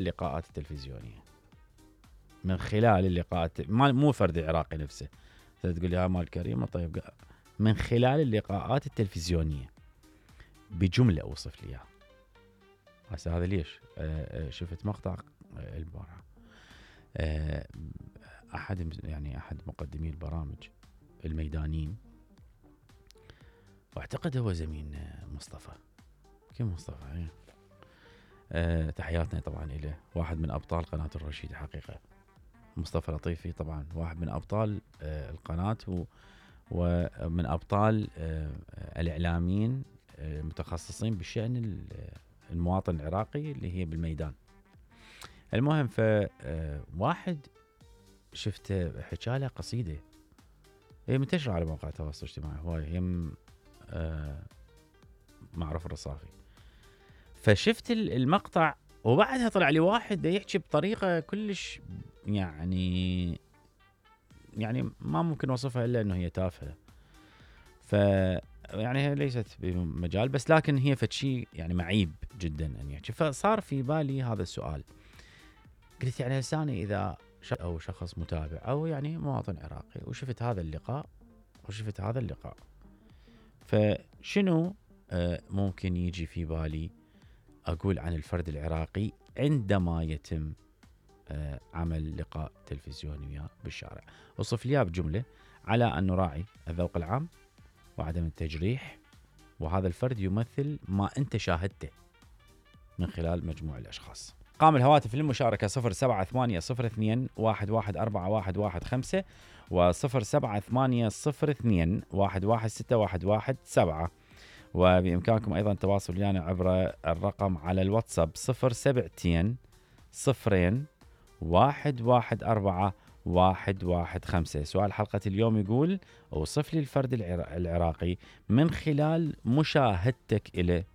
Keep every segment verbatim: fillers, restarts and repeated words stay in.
اللقاءات التلفزيونية، من خلال اللقاءات، مو فرد عراقي نفسه. تقول لي ها مال كريمة، طيب من خلال اللقاءات التلفزيونية بجملة أوصف لي إياها. هسه هذا ليش؟ أه شفت مقطع البارحة أه أحد يعني أحد مقدمي البرامج الميدانيين، واعتقد هو زميل مصطفى، كيف مصطفى يعني؟ أه تحياتنا طبعا إليه، واحد من أبطال قناة الرشيد حقيقة. مصطفى لطيفي طبعا واحد من أبطال أه القناة، ومن أبطال أه الإعلاميين المتخصصين بشأن المواطن العراقي اللي هي بالميدان. المهم فواحد شفته حكى له قصيدة هي منتشرة على مواقع التواصل الاجتماعي هواي، هي آه معروف الرصافي. فشفت المقطع وبعدها طلع لي واحد يحكي بطريقة كلش يعني يعني ما ممكن وصفها إلا أنه هي تافهة. ف يعني هي ليست بمجال، بس لكن هي فشي يعني معيب جدا أن يحكي. فصار في بالي هذا السؤال، قلت يعني لساني إذا أو شخص متابع أو يعني مواطن عراقي وشفت هذا اللقاء وشفت هذا اللقاء، فشنو آه ممكن يجي في بالي أقول عن الفرد العراقي عندما يتم آه عمل لقاء تلفزيوني بالشارع؟ وصف لي بجملة على أن نراعي الذوق العام وعدم التجريح، وهذا الفرد يمثل ما أنت شاهدته من خلال مجموع الأشخاص. قام الهواتف للمشاركة صفر سبعة ثمانية صفر اثنين واحد واحد أربعة واحد واحد خمسة وصفر سبعة ثمانية صفر اثنين واحد واحد ستة واحد واحد سبعة، وبإمكانكم أيضا التواصل ويانا عبر الرقم على الواتساب صفر سبعتين صفرين واحد واحد أربعة واحد واحد خمسة. سؤال حلقة اليوم يقول اوصف لي الفرد العراقي من خلال مشاهدتك إليه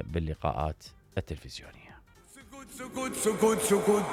باللقاءات التلفزيونية. سكوت سكوت سكوت سكوت